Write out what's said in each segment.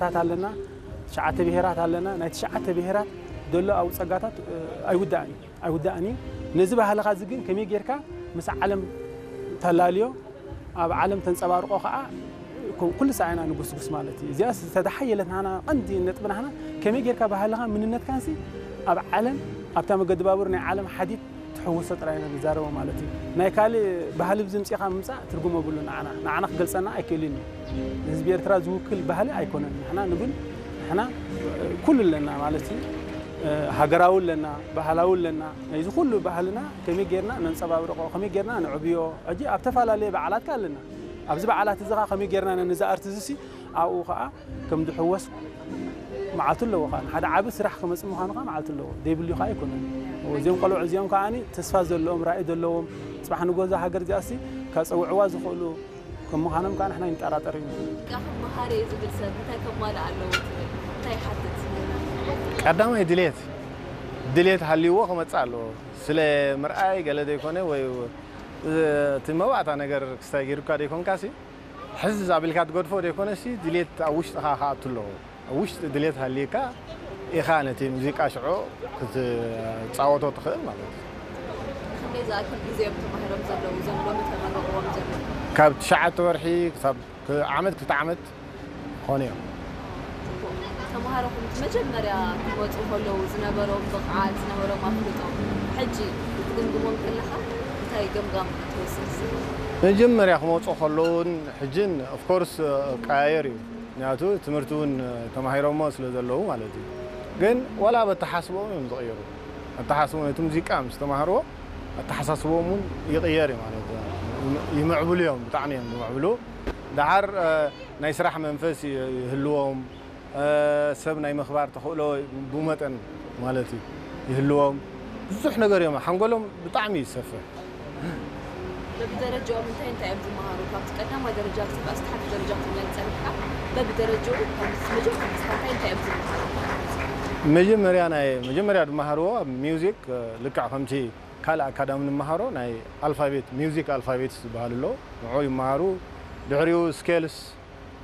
ታት ኣለና፣ ትሽዓተ ብሄራት ኣለና። ናይ ትሽዓተ ብሄራት ዘሎ ኣብኡ ጸጋታት ኣይውዳእን እዩ፣ ኣይውዳእን እዩ። ነዚ ባህልኻ እዚ ግን ከመይ ጌርካ ምስ ዓለም ተላልዮ፣ ኣብ ዓለም ተንጸባርቆ ከኣ ኩሉ ሳዕና ንጉስጉስ ማለት እዩ። እዚኣ ዝተተሓየለት ናና ቀንዲ ነጥቢ ናህና ከመይ ጌርካ ባህልኻ ምንነትካንሲ ኣብ ዓለም ኣብታ መገዲ ባቡር ናይ ዓለም ሓዲድ ትሕውሶ ጥራይ ኢና ንዛረቦ ማለት እዩ። ናይ ካልእ ባህሊ ብዝምፅኻ ምምፃእ ትርጉም የብሉ። ንዓና ንዓና ክገልፀና ኣይክእልን እዩ። ንህዝቢ ኤርትራ ዝውክል ባህሊ ኣይኮነን። ንሕና ንብል ንሕና ኩሉ ኣለና ማለት እዩ። ሃገራዊ ኣለና፣ ባህላዊ ኣለና። ናይዚ ኩሉ ባህልና ከመይ ጌርና ነንፀባብርቆ፣ ከመይ ጌርና ንዕብዮ። ሕጂ ኣብ ተፈላለየ በዓላት ከ ኣለና። ኣብዚ በዓላት እዚ ኸዓ ከመይ ጌርና ነዚ ኣርት እዚ ሲ ኣብኡ ኸዓ ከም ዝሕወስ መዓልቱ ኣለዎ ኸዓ። ንሓደ ዓቢ ስራሕ ክመጽእ ምዃኑ ኸዓ መዓልቱ ኣለዎ። ዘይብሉ ኸዓ ኣይኮነን። እዚኦም ቆልዑ እዚኦም ከዓኒ ተስፋ ዘለዎም፣ ራኢ ዘለዎም፣ ጽባሕ ንጎ እዛ ሃገር እዚኣሲ ከጸውዕዋ ዝኽእሉ ከም ምዃኖም ከኣ ንሕና ይንጠራጠር እዩ። ሙዚቃ ክመሃር እየ ዝብል ሰብ እንታይ ከማልእ ኣለዎ ትብል? እንታይ ይሓትት? ቀዳማይ ድሌት፣ ድሌት ሃልይዎ ክመጽእ ኣለዎ። ስለ ምርኣይ ገለ ዘይኮነ ወይ እቲ መባእታ ነገር ክስታይ ገይሩካ ዘይኮንካሲ፣ ሕዝ ኣቢልካ ትገድፎ ዘይኮነሲ፣ ድሌት ኣብ ውሽጥኻ ክኣቱ ኣለዎ። ኣብ ውሽጢ ድሌት ሃልይካ ኢኻ ነቲ ሙዚቃ ሽዑ ክትጻወቶ ትኽእል ማለት እዩ። ክንደይ ዝኣክል ግዜ እዮም ተማሂሮም ዘለዉ፣ እዞም ሎሚ ተመረቕዎም ዘለዉ? ካብ ትሽዓተ ወርሒ ክሳብ ክ-፣ ዓመት ክልተ ዓመት ክኾኑ እዮም። ተምሃሮኹም መጀመርያ ክመጹ ከለዉ ዝነበሮም ብቕዓት፣ ዝነበሮም ኣፍልጦ፣ ሕጂ ክትግምግሞም ከለኻ እንታይ ገምጋም ትወስድ? መጀመርያ ክመጹ ከለዉን ሕጅን ኦፍ ኮርስ ቀያየር እዩ። ምክንያቱ ትምህርቲ እውን ተማሂሮሞ ስለ ዘለዉ ማለት እዩ። ግን ዋላ ኣብ ኣተሓስቦም እዮም ዝቕየሩ። ኣተሓስቦም ነቲ ሙዚቃ ምስ ተማሃርዎ ኣተሓሳስቦም እውን ይቕየር እዩ ማለት እዩ። ይምዕብሉ እዮም፣ ብጣዕሚ እዮም ዝምዕብሉ። ደሓር፣ እ፣ ናይ ስራሕ መንፈስ ይ-፣ ይህልዎም፣ እ፣ ሰብ ናይ ምኽባር ተኽእሎ ብመጠን ማለት እዩ ይህልዎም። ብዙሕ ነገር እዮም፣ ሓንጎሎም ብጣዕሚ እዩ ዝሰፍሕ። በብደረጃኦም እንታይ እንታይ እዮም ዝመሃሩ? ካብቲ ቀዳማይ ደረጃ ክሳብ ኣስታሕቲ ደረጃ ክትብል ጸኒሕካ፣ በብደረጃኡ ካብ መጀመርያ ክሳብ እንታይ እንታይ እዮም ዝመሃሩ? መጀመርያ ናይ፣ መጀመርያ ዝመሃርዎ ኣብ ሚውዚክ፣ እ፣ ልክዕ ከምቲ ካልእ ኣካዳሚ ንምሃሮ ናይ ኣልፋቤት፣ ሚውዚክ ኣልፋቤትስ ዝበሃሉ ኣለዉ። ንዕኡ ይመሃሩ። ድሕሪኡ ስኬልስ፣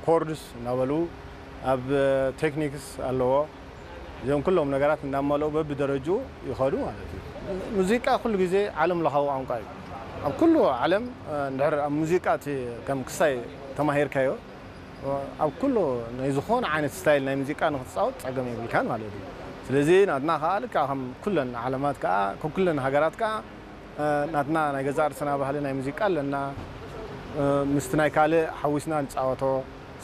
ኮርድስ እናበሉ ኣብ ቴክኒክስ ኣለዎ። እዚኦም ኩሎም ነገራት እናመልኡ በብደረጅኡ ይኸዱ ማለት እዩ። ሙዚቃ ኩሉ ግዜ ዓለም ለኻዊ ቋንቋ እዩ። ኣብ ኩሉ ዓለም፣ እ፣ እንድሕር ኣብ ሙዚቃ እቲ ከም ክሳይ ተማሂርካዮ፣ ኣብ ኩሉ ናይ ዝኾነ ዓይነት ስታይል ናይ ሙዚቃ ንክትጻወት ጸገም የብልካን ማለት እዩ። ስለዚ ናትና ከኣ ልክዕ ከም ኩለን ዓለማት ከኣ፣ ከም ኩለን ሃገራት ከኣ፣ እ፣ ናትና ናይ ገዛእ ርእስና ባህሊ ናይ ሙዚቃ ኣለና። እ፣ ምስቲ ናይ ካልእ ሓዊስና ንጻወቶ።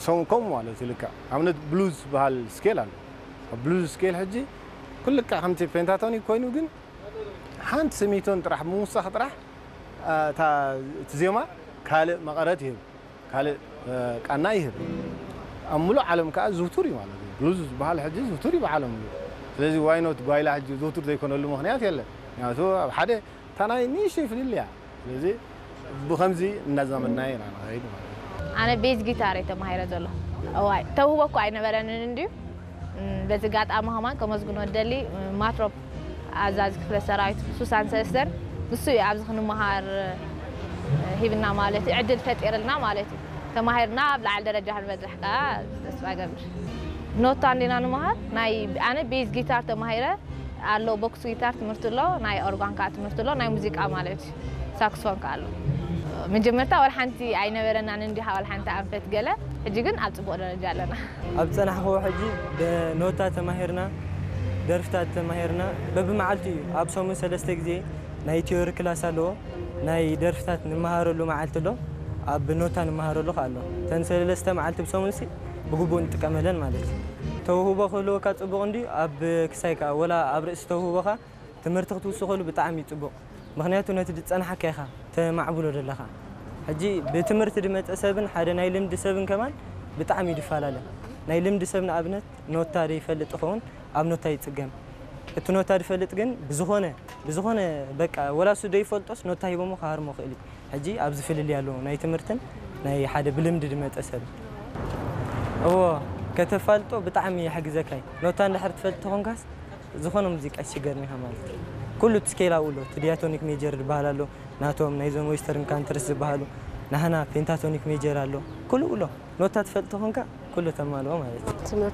ሰው ከምኡ ማለት እዩ ልክዕ። ኣብነት ብሉዝ ዝበሃል ስኬል ኣሎ። ኣብ ብሉዝ ስኬል ሕጂ ኩሉ ልክዕ ከምቲ ፔንታቶኒክ ኮይኑ ግን ሓንቲ ስሚቶን ጥራሕ ብምውሳኽ ጥራሕ፣ እ፣ እታ፣ እቲ ዜማ ካልእ መቐረት ይህብ። ካልእ፣ እ፣ ቃና ይህብ። ኣብ ምሉእ ዓለም ከኣ ዝውቱር እዩ ማለት እዩ። ብሉዝ ዝበሃል ሕጂ ዝውቱር እዩ ብዓለም ምሉእ። ስለዚ ዋይ ኖት ጓይላ ሕጂ ዝውቱር ዘይኮነሉ ምኽንያት የለን። ምክንያቱ ኣብ ሓደ እታ ናይ ንእሽተይ ፍልልይ እያ። ስለዚ ብኸምዚ እናዛመድናዮ ኢና ንኸይድ ማለት እዩ። ኣነ ቤዝ ጊታር እየ ተማሂረ ዘሎ። እዋይ፣ ተውህቦ እኮ ኣይነበረንን እንድዩ። እም፣ በዚ ኣጋጣሚ ከማን ከመስግኖ እደሊ፣ እም፣ ማትሮፕ ኣዛዚ ክፍለ ሰራዊት ሱሳን ሰለስተን ንሱ እዩ ኣብዚ ክንመሃር፣ እ፣ ሂብና ማለት እዩ፣ ዕድል ፈጢርልና ማለት እዩ። ተማሂርና ኣብ ላዕሊ ደረጃ ክንበጽሕ ከኣ ተስፋ እገብር። ኖታ እንዲና ንምሃር፣ ናይ ኣነ ቤዝ ጊታር ተማሂረ ኣሎ፣ ቦክስ ጊታር ትምህርቲ ኣሎ፣ ናይ ኦርጋን ከኣ ትምህርቲ ኣሎ፣ ናይ ሙዚቃ ማለት እዩ፣ ሳክስፎን ከኣ ኣሎ። መጀመርታ ወላ ሓንቲ ኣይነበረናን እንዲኻ፣ ወላ ሓንቲ ኣንፈት ገለ፣ ሕጂ ግን ኣብ ጽቡቕ ደረጃ ኣለና። ኣብ ዝጸናሕክዎ ሕጂ ብኖታ ተማሂርና፣ ደርፍታት ተማሂርና፣ በብመዓልቲ እዩ። ኣብ ሰሙን ሰለስተ ግዜ ናይ ቲዮሪ ክላስ ኣለዎ። ናይ ደርፍታት ንመሃረሉ መዓልቲ ኣሎ፣ ኣብ ኖታ ንመሃረሉ ከኣ ኣሎ። እተን ሰለስተ መዓልቲ ብሰሙንሲ ብግቡእ ንጥቀመለን ማለት እዩ። ተውህቦ ክህልወካ ጽቡቕ እንድዩ፣ ኣብ ክሳይ ከኣ ወላ ኣብ ርእሲ ተውህቦኻ ትምህርቲ ክትውስኸሉ ብጣዕሚ እዩ ጽቡቕ። ምኽንያቱ ነቲ ዝጸናሓካ ኢኻ ተማዕብሎ ዘለኻ። ሕጂ ብትምህርቲ ዝመጸ ሰብን ሓደ ናይ ልምዲ ሰብን ከማን ብጣዕሚ እዩ ዝፈላለ። ናይ ልምዲ ሰብ ንኣብነት ኖታ ዘይፈልጥ ይኸውን፣ ኣብ ኖታ ይጽገም። እቲ ኖታ ዝፈልጥ ግን ብዝኾነ፣ ብዝኾነ በቃ ወላ እሱ ዘይፈልጦስ ኖታ ሂቦሞ ክሃርሞ ክእል እዩ። ሕጂ ኣብዚ ፍልልይ ኣለዎ ናይ ትምህርትን ናይ ሓደ ብልምዲ ዝመጸ ሰብ። እዎ፣ ከተፋልጦ ብጣዕሚ ይሕግዘካ እዩ። ኖታ እንድሕር ትፈልጥ ተኾንካስ ዝኾነ ሙዚቃ ይስገርኒ ኢኻ ማለት እዩ። ኩሉ እቲ ስኬል ኣብኡ ኣሎ። እቲ ዲያቶኒክ ሜጀር ዝበሃል ኣሎ፣ ናቶም ናይዞም ዌስተርን ካንትሪስ ዝበሃሉ፣ ናህና ፔንታቶኒክ ሜጀር ኣሎ። ኩሉ ኣሎ። ኖታ ትፈልጥ ተኾንካ ኩሉ ተማልኦ ማለት እዩ። ትምህርቲ